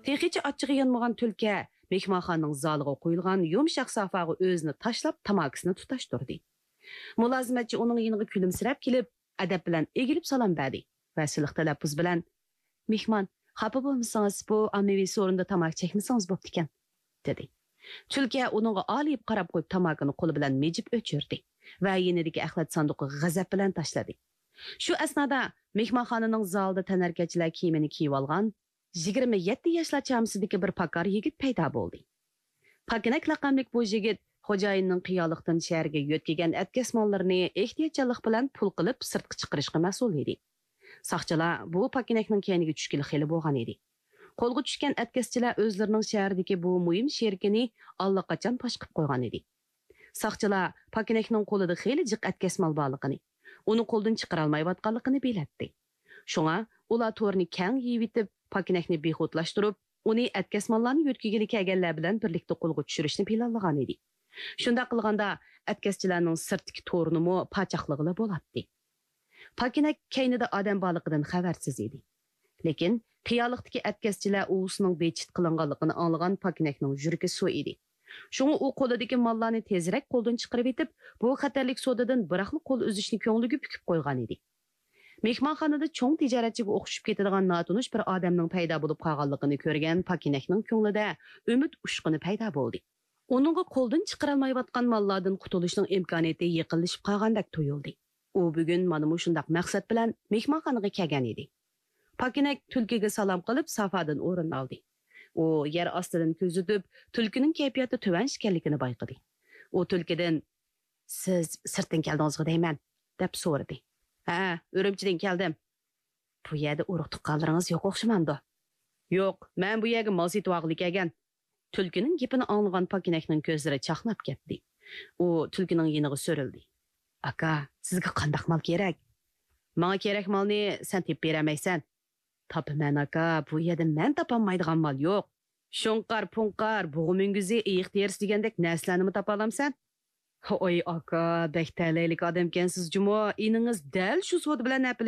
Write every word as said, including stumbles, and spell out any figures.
تېخىچە ئاچچىقى يانمىغان تۈلكە مېھمانخانىنىڭ زالىغا قويۇلغان يۇمشاق سافاغا ئۆزىنى تاشلاپ، تاماكىسىنى تۇتاشتۇردى. مۇلازىمەتچى ئۇنىڭ يېنىغا كۈلۈمسىرەپ كېلىپ، ئەدەپ بىلەن ئېگىلىپ سالام بەردى ۋە سىلىق تەلەپپۇز بىلەن، «مېھمان، خاپا بولمىسىڭىز، بۇ ئاممىۋى سورۇندا تاماكا چەكمىسىڭىز بوپتىكەن» دېدى. تۈلكە ئۇنىڭغا ئالىيىپ قاراپ قويۇپ، تاماكىنى قولى بىلەن مىجىپ ئۆچۈردى ۋە يېنىدىكى ئەخلەت ساندۇقىغا غەزەپ بىلەن تاشلىدى. شۇ ئەسنادا مېھمانخانىنىڭ زالىدا تەنھەرىكەتچىلەر كىيىمىنى كىيىۋالغان يىگىرمە يەتتە ياشلار چامىسىدىكى بىر پاكار يىگىت پەيدا بولدى. پاكىنەك لەقەملىك بۇ يىگىت خوجايىننىڭ قىيالىقتىن شەھەرگە يۆتكىگەن ئەتكەسماللىرىنى ئېھتىياتچانلىق بىلەن پۇل قىلىپ سىرتقا چىقىرىشقا مەسئۇل ئىدى. ساقچىلار بۇ پاكىنەكنىڭ كەينىگە چۈشكىلى خېلى بولغان ئىدى. قولغا چۈشكەن ئەتكەسچىلەر ئۆزلىرىنىڭ شەھەردىكى بۇ مۇھىم شېرىكىنى ئاللىقاچان پاش قىلىپ قويغان ئىدى. ساقچىلار پاكىنەكنىڭ قولىدا خېلى جىق ئەتكەسمال بارلىقىنى، ئۇنى قولدىن چىقىرالمايۋاتقانلىقىنى بىلەتتى. شۇڭا ئۇلار تورنى كەڭ يېيىۋېتىپ، پاكىنەكنى بىخۇدلاشتۇرۇپ، ئۇنى ئەتكەسماللارنى يۆتكىگىلى كەلگەنلەر بىلەن بىرلىكتە قولغا چۈشۈرۈشنى پىلانلىغان ئىدى. شۇنداق قىلغاندا، ئەتكەسچىلەرنىڭ سىرتتىكى تورىنىمۇ پاچاقلىغىلى بولاتتى. پاكىنەك كەينىدە ئادەم بارلىقىدىن خەۋەرسىز ئىدى. لېكىن قىيالىقتىكى ئەتكەسچىلەر ئۇۋىسىنىڭ بىچىت قىلىنغانلىقىنى ئاڭلىغان پاكىنەكنىڭ يۈرىكى سۇ ئىدى. شۇڭا ئۇ قولىدىكى ماللارنى تېزرەك قولدىن چىقىرىۋېتىپ، بۇ خەتەرلىك سودىدىن بىراقلا قول ئۈزۈشنى كۆڭلىگە پۈكۈپ قويغان ئىدى. مېھمانخانىدا چوڭ تىجارەتچىگە ئوخشىشىپ كېتىدىغان ناتونۇش بىر ئادەمنىڭ پەيدا بولۇپ قالغانلىقىنى كۆرگەن پاكىنەكنىڭ كۆڭلىدە ئۈمىد ئۇچقۇنى پەيدا بولدى. ئۇنىڭغا قولدىن چىقىرالمايۋاتقان ماللاردىن قۇتۇلۇشنىڭ ئىمكانىيىتى يېقىنلىشىپ قالغاندەك تۇيۇلدى. ئۇ بۈگۈن مانا مۇشۇنداق مەقسەت بىلەن مېھمانخانىغا كەلگەن ئىدى. پاكىنەك تۈلكىگە سالام قىلىپ، سافادىن ئورۇن ئالدى. ئۇ يەر ئاستىدىن كۆزىتىپ، تۈلكىنىڭ كەيپىياتى تۆۋەن ئىكەنلىكىنى بايقىدى. ئۇ تۈلكىدىن، «سىز سىرتتىن كەلدىڭىزغۇ دەيمەن؟» دەپ سورىدى. «ھە، ئۈرۈمچىدىن كەلدىم.» «بۇ يەردە ئۇرۇق-تۇغقانلىرىڭىز يوق ئوخشىمامدۇ؟» «يوق، مەن بۇ يەرگە مال سېتىۋالغىلى كەلگەن.» تۈلكىنىڭ گېپىنى ئاڭلىغان پاكىنەكنىڭ كۆزلىرى چاقناپ كەتتى. ئۇ تۈلكىنىڭ يېنىغا سۆرۈلدى. «ئاكا، سىزگە قانداق مال كېرەك؟» «ماڭا كېرەك مالنى سەن تېپىپ بېرەلمەيسەن.» «تاپىمەن، ئاكا، بۇ يەردە مەن تاپالمايدىغان مال يوق.» «شۇڭقار-پۇڭقار، بۇغا مۈڭگۈزى، ئېيىق تېرىسى دېگەندەك نەرسىلەرنىمۇ تاپالامسەن؟» «ھوي، ئاكا، بەك تەلەيلىك ئادەمكەنسىز جۇمۇ، ئىنىڭىز دەل شۇ سودا بىلەن